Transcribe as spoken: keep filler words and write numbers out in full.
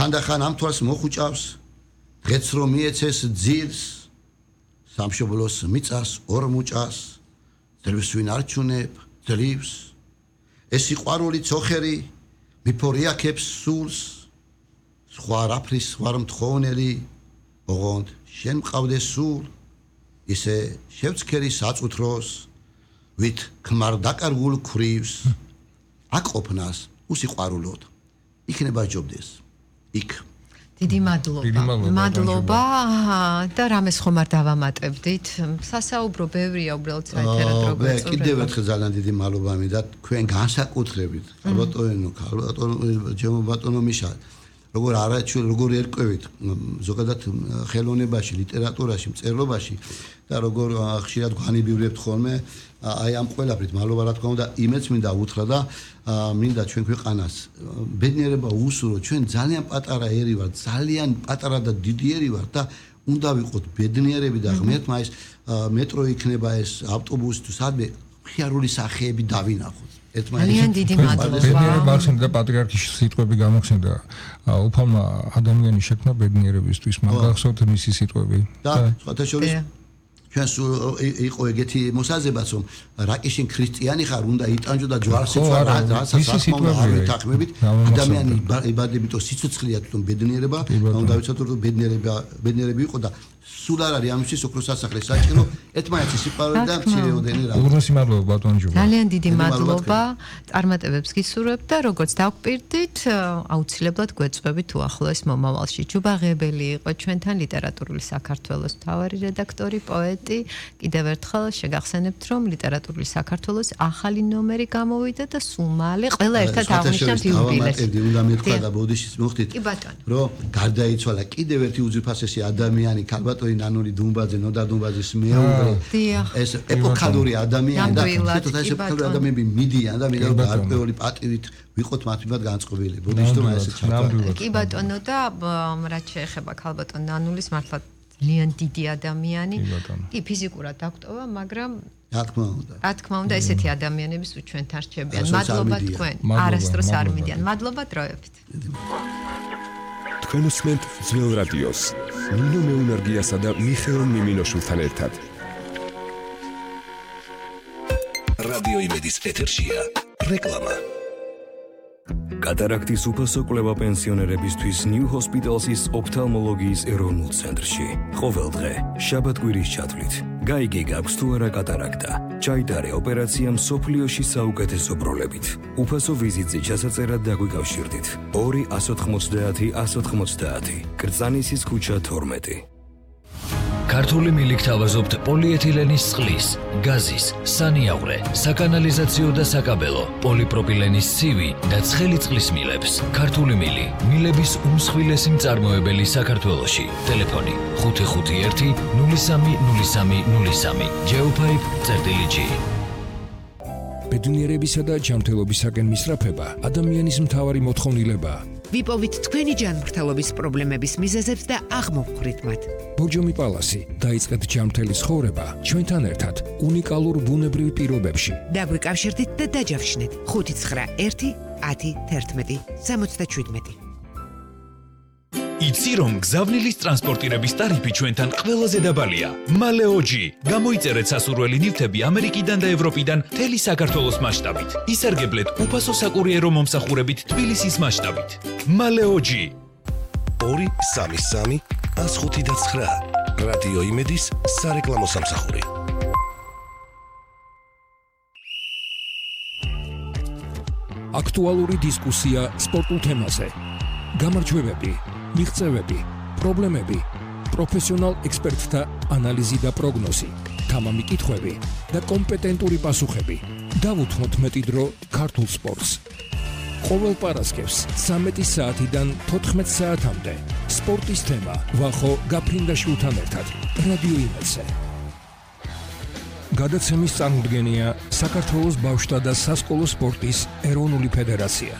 ხანდახან ამ თვალს მოხუჭავს დღეც რომ მიეცეს ძილს სამშობლოს მიწას ორ მუჭას ძლივს ვინ არჩუნებ ძლივს ეს სიყვარული ცოხერი მიფორიაქებს სულს სხვა რაფრის ვარ მთხოვნელი ოღონდ შენ მყავდე სულ ისე შევცქერი საწუთროს ვით ქმარ დაკარგულ ქრივს აკოფნას უსიყვარულოდ იქნება ჯობდეს იქ დიდი მადლობა მადლობა და რამეს ხომ არ დავამატებდით სასაუბრო ბევრია უბრალოდ საერთოდ როგორც წურება კიდევ ერთხელ ძალიან დიდი მადლობა მინდა თქვენ განსაკუთრებით ალბათოენო ალბათო ჩემო ბატონო მიშა როგორ არაჩვენ როგორ ერკვევით ზოგადად ხელოვნებაში ლიტერატურაში მწერლობაში და როგორ ხშირად გვანიბივრებთ ხოლმე აი ამ ყველაფრით მადლობა რა თქმა უნდა იმეც მინდა უთხრა და მინდა ჩვენ ქვეყანას ბედნიერება უსურო ჩვენ ძალიან პატარა ერი ვართ ძალიან პატარა და დიდი ერი ვართ და უნდა ვიყოთ ბედნიერები და ღმერთმა ეს მეტრო იქნება ეს ავტობუსი თუ სადმე ხიარული სახეები დავინახოთ ძალიან დიდი მადლობა ბედნიერება ახსენდა პატრიარქის სიტყვები გამოხსენდა უფალმა ადამიანი შექმნა ბედნიერებისთვის მაგახსოვთ მისი სიტყვები და სხვათა შორის ჩვენ იყო ეგეთი მოსაზრებაც რომ რაკიშინ ქრისტიანი ხარ უნდა იტანჯო და ჯვარს იწვა რასაც საკმაოდ არ ვითანხმებით ადამიანი იბადებითო სიცოცხლეა თვითონ ბედნიერება და უნდა ვიცოდოთ რომ ბედნიერება ბედნიერები იყო და სულ არ არის ამისთვის ოქროს სასახლე საჭირო ერთმანეთის სიყვარული და მცირეოდენი რა უღრესი მადლობა ბატონ ჯუბა ძალიან დიდი მადლობა წარმატებებს გისურვებთ და როგორც დავკვირდით აუცილებლად გვეწვევით უახლოეს მომავალში ჯუბა ღებელი იყო ჩვენთან ლიტერატურული საქართველოს მთავარი რედაქტორი პოეტი კიდევ ერთხელ შეგახსენებთ რომ ლიტერატურული საქართველოს ახალი ნომერი გამოვიდა და სულ მალე ყველა ერთად აღნიშნავთ იუბილეს უნდა მეთქვა და ბოდიშის მოხდით კი ბატონო რომ გარდაიცვალა კიდევ ერთი უძვირფასესი ადამიანი ქალბატონი ნანული დუმბაძე ნოდა დუმბაძის მეუღლე ეს ეპოქალური ადამიანი და თვითონ ეს ეპოქალური ადამიანები მიდიან და მინდა რომ გარკვეული პატივით ვიყოთ მათ მიმართ განწყობილი ბოდიშტომა ესე ჩატარდა კი ბატონო და რაც შეეხება ქალბატონ ნანულის მართლა ძალიან დიდი ადამიანი კი ფიზიკურად დაგტოვა მაგრამ რა თქმა უნდა რა თქმა უნდა ესეთი ადამიანების უჩვენთან რჩებიან მადლობა თქვენ არასდროს არ მიდიან მადლობა დროებით თქვენ უსმენთ ძველ რადიოს ნინო მეუნარგიასა და მიხეილ მიმინოშვილთან ერთად რადიო იმედის ეთერშია რეკლამა კატარაქტის უფასო კვლევა პენსიონერებისთვის ნიუ ჰოსპიტალსის ოფთალმოლოგიის ეროვნულ ცენტრში ყოველ დღე შაბათ-კვირის ჩათვლით გაიგე გაქვს თუ არა კატარაქტა ჩაიტარე ოპერაცია მსოფლიოში საუკეთესო ბროლებით უფასო ვიზიტზე ჩასაწერად დაგვიკავშირდით ორი ათას ოთხმოცდაათი ათას ოთხმოცდაათი კრწანისის ქუჩა თორმეტი ქართული მილი გთავაზობთ პოლიეთილენის წყლის, გაზის, სანიაღვრე, საკანალიზაციო და საკაბელო, პოლიპროპილენის ცივი და ცხელი წყლის მილებს. ქართული მილი, მილების უმსხვილესი მწარმოებელი საქართველოში. ტელეფონი ხუთი ხუთი ერთი ნული სამი ნული სამი ნული სამი. Geopipe წერტილი G. ბედნიერებისა და ჯანმრთელობისაკენ მისწრაფება ადამიანის მთავარი მოთხოვნილებაა. ვიპოვით თქვენი ჯანმრთელობის პრობლემების მიზეზებს და აღმოვხვრით მათ. ბორჯომი პალასი დაიწყეთ ჯანმრთელი ცხოვრება ჩვენთან ერთად უნიკალურ ბუნებრივ პირობებში. დაგვიკავშირდით და დაჯავშნით ხუთი ცხრა ერთი ათი თერთმეტი სამოცდაშვიდმეტი. იცი რომ გზავნილის ტრანსპორტირების ტარიფი ჩვენთან ყველაზე დაბალია. მალეოჯი. გამოიწერეთ სასურველი ნივთები ამერიკიდან და ევროპიდან მთელი საქართველოს მასშტაბით. ისარგებლეთ უფასო საკურიერო მომსახურებით თბილისის მასშტაბით. მალეოჯი. ორი სამი სამი ას ხუთი და ცხრა. რადიო იმედის სარეკლამო სამსახური. აქტუალური დისკუსია სპორტულ თემაზე. გამარჯვებები, მიღწევები, პრობლემები, პროფესიონალ ექსპერტთა ანალიზი და პროგნოზი, თამამი კითხვები და კომპეტენტური პასუხები. დავუთმოთ მეტი დრო ქართულ სპორტს. ყოველ პარასკევს ცამეტი საათიდან თოთხმეტ საათამდე სპორტის თემა ვახო გაფრინდაშვილთან ერთად რადიო იმედზე. გადაცემის წარმოდგენია საქართველოს ბავშვთა და სასკოლო სპორტის ეროვნული ფედერაცია.